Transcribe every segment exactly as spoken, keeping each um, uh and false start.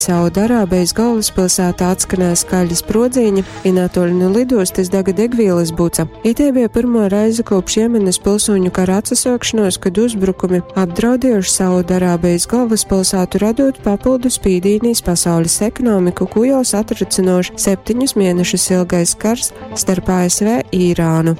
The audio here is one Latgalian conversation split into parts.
Saudarābejas galvaspilsētā atskanēja skaļi sprodziņi, i natuoļ nu lidostas daga degvīlys buca. Itei bija pyrmuo reize kopš Jemenas pilsūņu kara atsasuokšonuos, kad uzbrukumi apdraudiejuši Saudarābejas galvaspilsētu, radot papildu spīdīni iz pasaules ekonomiku, kū jau satricinošs septiņus mienešus ilgais kars starp A S V i Irānu.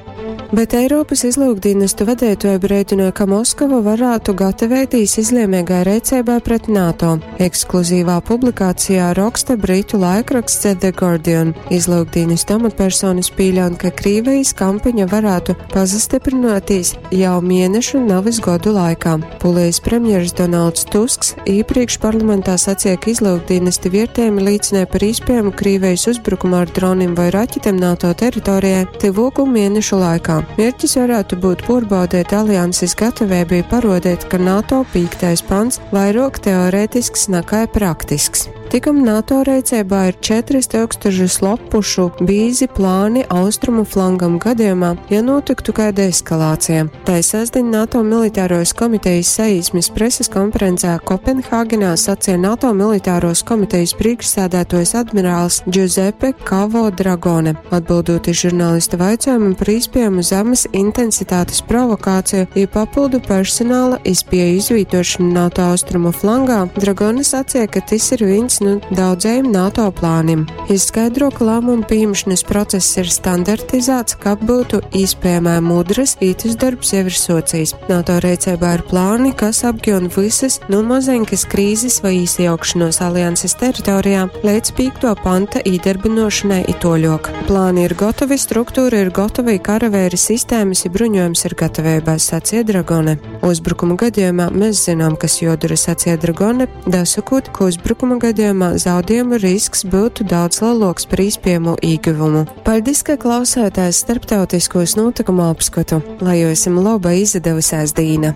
Bet Eiropas izlūkdīnestu vadeituoji brēdināja, ka Moskava varētu gatavētīs izliemīgai reiceibai pret NATO. Ekskluzīvā publikācijā roksta britu laikraksts The Guardian. Izlūkdīnestu amatpersonas pieļaun, ka Krīvijas kampaņa varētu pasastiprināties jau mēnešu, nevis gadu laikā. Polijas premjeras Donalds Tusks iepriekš parlamentā sacīja, ka izlūkdīnesti vērtējumi liecināja par iespējamu Krīvijas uzbrukumu ar droniem vai raķetēm NATO teritorijai tyvoku mēnešu laikā. Mērķis varētu būt porbaudēt alianses gatavību, parodēt, ka NATO pīktais pants vairāk teorētisks nekā praktisks. Tikam NATO reicībā ir četris tūkstošus lopušu bīzi plāni austrumu flangam gadījumā, ja notiktu kāda eskalācija. Tai sestdiņ NATO militāros komitejas saīsmes preses konferencē Kopenhāgenā sacīja NATO militāros komitejas priekšsēdētājs admirāls Giuseppe Cavo Dragone, atbildot uz žurnālista jautājumu par iespējamu zemes intensitātes provokāciju i papildu personāla izpēju izvītošanu NATO austrumu flangā. Dragone sacīja, ka tas ir viens nu daudzajiem NATO plāniem. Izskaidro, ka lēmumu pieņemšanas process ir standartizēts, ka būtu iespējamā mudras, itis darbs jau ir socijas. NATO reicībā ir plāni, kas apgiun visas nu mazenkas krīzes vai īsiejaukšanos alianses teritorijā līdz pīkto panta īdarbinošanai i toļok. Plāni ir gatavi, struktūra ir gatava, karavēri sistēmas i bruņojums ir gatavībā, sacīja Dragone. Uzbrukuma gadījumā mēs zinām, kas jodara, sacīja Dragone, dasakot, ka uzbrukuma gadījumā zaudējumu risks būtu daudz lielāks par iespējamo ieguvumu. Paldies, ka klausāties starptautiskos notikumu apskatu. Lai jums laba izdevusies dīna!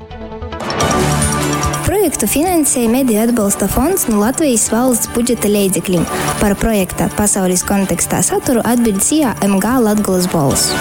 Projektu finansēja Mediju atbalsta fonds no Latvijas valsts budžeta leidzekļiem. Par projekta pasaules kontekstā saturu atbild S I A M G Latgolas Bolss.